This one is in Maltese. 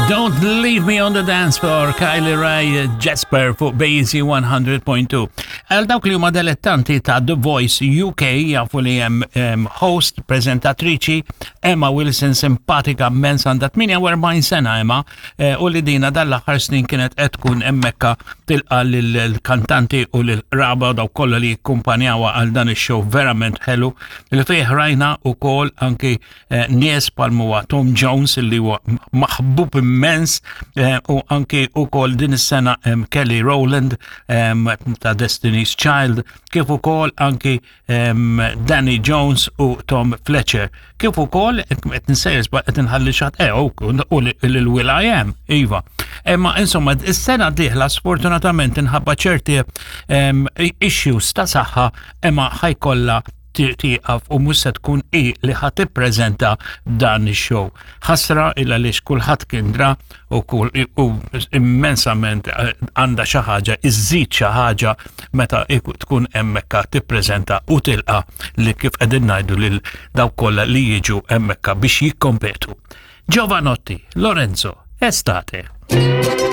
Don't Leave Me on the Dance Floor, Kylie Ray Jasper fuq BC 100.2. Għal dawk li huma delettanti ta' The Voice UK jafu li hemm host, prezentatriċi Emma Wilson simpatika immens għandha 48 sena Emma eh, u li dina dal-aħħar snin kienet qed tkun hemmhekka tilqa lill-kantanti u lill-qraba u dawk kollha li jikkumpanjawha għal dan ix-show verament ħelu li fih rajna wkoll anki Eh, nies bħal huwa Tom Jones li huwa maħbub immens eh, u anki ukoll din is-sena Kelly Rowland ta' Destiny's Child kif ukoll anki Danny Jones u Tom Fletcher kif ukoll qed nsejjes qed inħalli xatt eh, u lil Will I Am iva. Imma insomma is-sena dieħla sfortunatament inħabba ċerti issues ta' saħħa imma ħajkollha tieqaf u mhux se tkun hi li ħa tippreżenta dan ix-show. Ħasra il għaliex kulħadd kien dra u kull u immensament eh, għandha xi ħaġa, iżżid xi ħaġa meta tkun hemmhekk tippreżenta u tilqa li kif qegħdin ngħidu lil dawk kollha li jiġu hemmhekk biex jikkompetu. Giovanotti, Lorenzo, Estate.